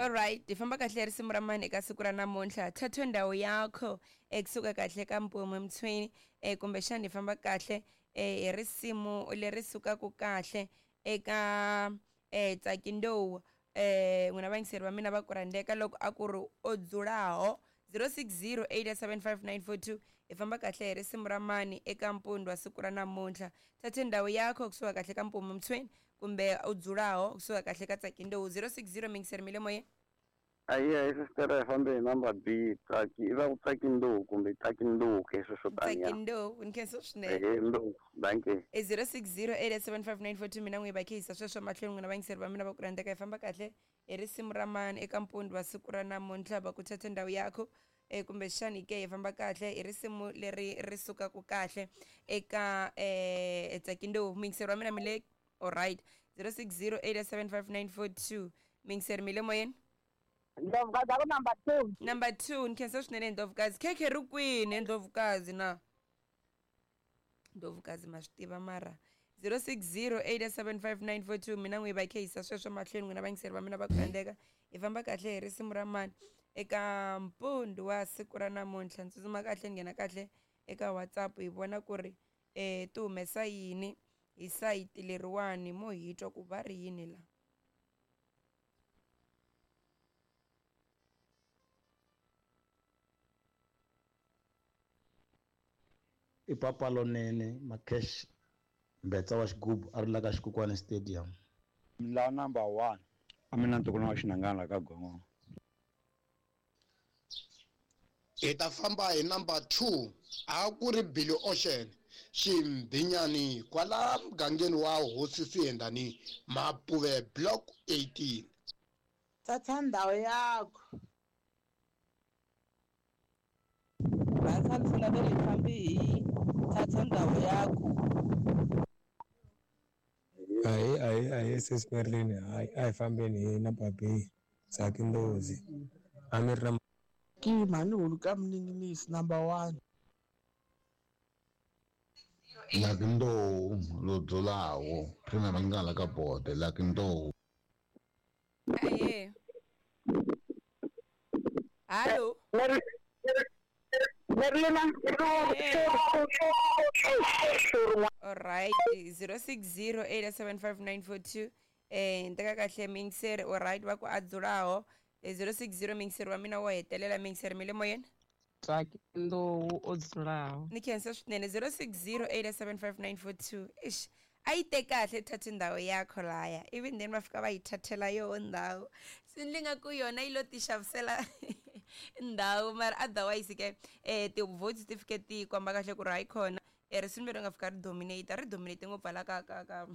Alright, hi famba kahle hi risimu ra mani eka siku ra namuntlha. Thathe ndhawu yakho ekusuka kahle ka Mpume Mtshweni kumbexana hi famba kahle hi risimu leri sukaka kahle eka Tsaki Ndou n'wina vayingiseri va mina va ku rhandzeka loko a ku ri o dzulaho 0608755942 hi famba kahle hi risimu ra mani eka mpundwa siku ra namuntlha. Thathe ndhawu yakho kusuka kahle ka Mpume Mtshweni kumbe u dzulaho kusuka kahle ka Tsaki Ndou 060 mingiseri mi le moyeni. Ayi ayi sister hi fambe hi number B Tsaki i va ku Tsaki Ndou kumbe Tsaki Ndou ke sweswo taniya. Tsaki Ndou ni khensa swinene. Ehe Ndou dankie. E 0608755942 mina n'wi va khehisa sweswo mahlweni n'wina vayingiseri va mina va ku rhandzeka hi famba kahle hi risimu ra mani eka mpundzu wa siku ra namuntlha va ku thatha ndhawu yakho e kumbexani ke hi famba kahle hi risimu leri ri sukaka kahle eka Tsaki Ndou muyingiseri wa mina mi le alright 0608755942 muyingiseri mi le moyeni. Ndlovukazi aku number 2. Number 2 ni khensa swinene Ndlovukazi. Khekhe ri kwini Ndlovukazi na? Ndlovukazi ma swi tiva mara 0608755942 mina n'wi va khehisa sweswo mahlweni n'wina vayingiseri va mina va ku rhandzeka hi famba kahle hi risimu ra mani eka mpundzu wa siku ra namuntlha. Ni tsutsuma kahle ni nghena kahle eka WhatsApp hi vona ku ri ti humesa yini hi sayiti leriwani mo hi twa ku va ri yini la. I papa lonene Makesh Mbetsa wa xigubu a ri la ka Xikukwana Stadium. La number 1 a mina ntukulu wa xinangana ka gongo. Hi ta famba hi number 2 a ku ri Billy Ocean Ximbinyani kwala mugangeni wa Hosi Siyendani Mapuve Block 18. Thatha ndhawu yakho. Rhandza ndzi nga le fambi hi thatha ndhawu yakho. Ahi ahi ahi sis Merlin, hayi a hi fambeni hi number B Tsaki Ndozi. A mi ri na Ki mhani hulu ka mninginisi number 1. Lucky Ndou lo dzulaho Premier Mangala ka bode Lucky Ndou. Aye. Hallo. Merlina. Alright 0608755942 ni teka kahle mingiseri alright va ku a dzulaho 060 mingiseri wa mina wo hetelela mingiseri mi le moyeni. Tsaki Ndou o dzulaho. Ni khensa swinene 0608755942 ish a yi te kahle thathi ndhawu yakho laya ivi then va fika va yi thathela yoho ndhawu swi ni nga ku yona yi lo ti xavisela ndhawu mara otherwise ke ti-votes ti fike ti komba kahle ku ri hayi khona risimu leri nga fika ri dominate ri dominate ngopfu hala ka ka ka.